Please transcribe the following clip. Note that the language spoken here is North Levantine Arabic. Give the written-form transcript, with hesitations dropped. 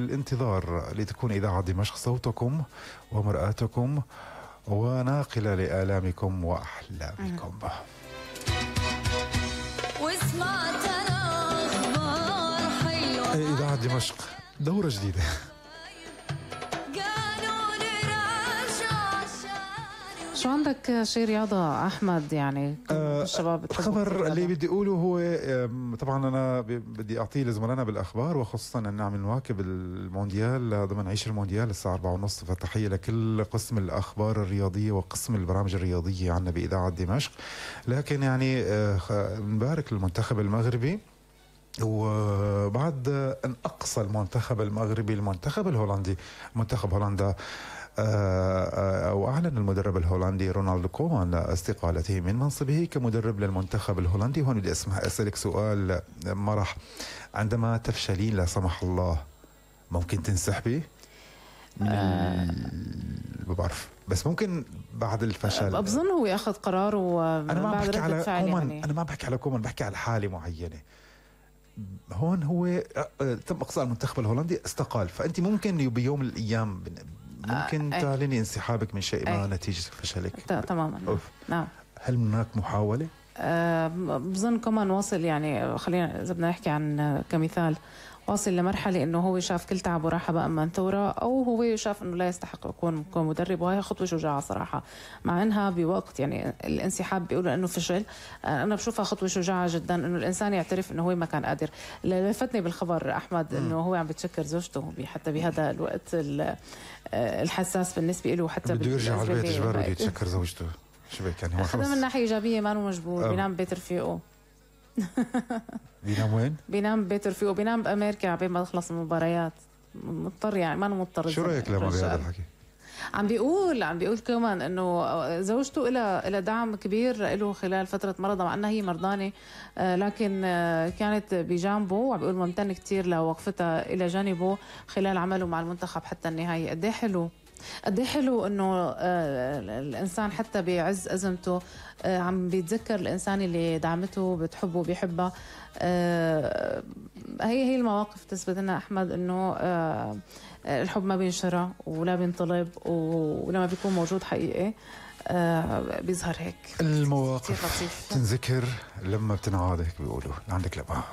الانتظار لتكون إذاعة دمشق صوتكم ومرآتكم وناقلة لآلامكم وأحلامكم. إذاعة دمشق دورة جديدة. شو عندك شي رياضة أحمد؟ يعني الشباب الخبر اللي بدي أقوله هو طبعا أنا بدي أعطيه لزملائنا بالأخبار، وخصوصا أن عم نواكب المونديال ضمن عيش المونديال الساعة 4:30، فتحية لكل قسم الأخبار الرياضية وقسم البرامج الرياضية عنا بإذاعة دمشق. لكن يعني نبارك للمنتخب المغربي، وبعد أن أقصى المنتخب المغربي المنتخب الهولندي، منتخب هولندا، وأعلن المدرب الهولندي رونالد كومان استقالته من منصبه كمدرب للمنتخب الهولندي. هون بدي أسألك سؤال مرح، عندما تفشلين لا سمح الله ممكن تنسحبي؟ ما بعرف، بس ممكن بعد الفشل بظن هو ياخذ قرار أنا ما بعد بحكي على كومان يعني. أنا ما بحكي على كومان، بحكي على حالة معينة. هون هو تم إقصاء المنتخب الهولندي، استقال، فأنت ممكن بيوم من الأيام ممكن تعلني انسحابك من شيء ما نتيجة فشلك. تماما. نعم. هل هناك محاولة؟ بظن كمان واصل، يعني خلينا إذا بدنا نحكي عن كمثال، واصل لمرحلة إنه هو شاف كل تعب وراحة بقى من ثورة، أو هو شاف إنه لا يستحق يكون مدرب، وهي خطوة شجاعة صراحة. مع إنها بوقت يعني الانسحاب بيقولوا إنه فشل، أنا بشوفها خطوة شجاعة جدا إنه الإنسان يعترف إنه هو ما كان قادر. اللي لفتني بالخبر أحمد إنه هو عم بتشكر زوجته حتى بهذا الوقت الحساس بالنسبة له، حتى بده يرجع على البيت إجباري بده يتشكر زوجته. شو بك يعني؟ هو خدها من ناحية إيجابية، ما هو مجبور، بينام ببيت رفيقه. بينام وين؟ بينام ببيت رفيقه، بينام بأمريكا عبين ما تخلص المباريات، مضطر يعني، ما مضطر. شو رأيك لما بهذا الحكي؟ عم بيقول كمان انه زوجته إلى دعم كبير له خلال فترة مرضها، مع انها هي مرضانة، لكن كانت بجانبه، وعم بيقول ممتن كتير لوقفتها الى جانبه خلال عمله مع المنتخب حتى النهاية. قد ايه حلو انه الانسان حتى بعز ازمته عم بيتذكر الانسان اللي دعمته، بتحبه، بيحبها. هي المواقف تثبت لنا احمد انه الحب ما بينشرى ولا بينطلب، ولما بيكون موجود حقيقي بيظهر هيك. المواقف تنذكر لما بتنعاد، هيك بيقولوا. عندك لبعض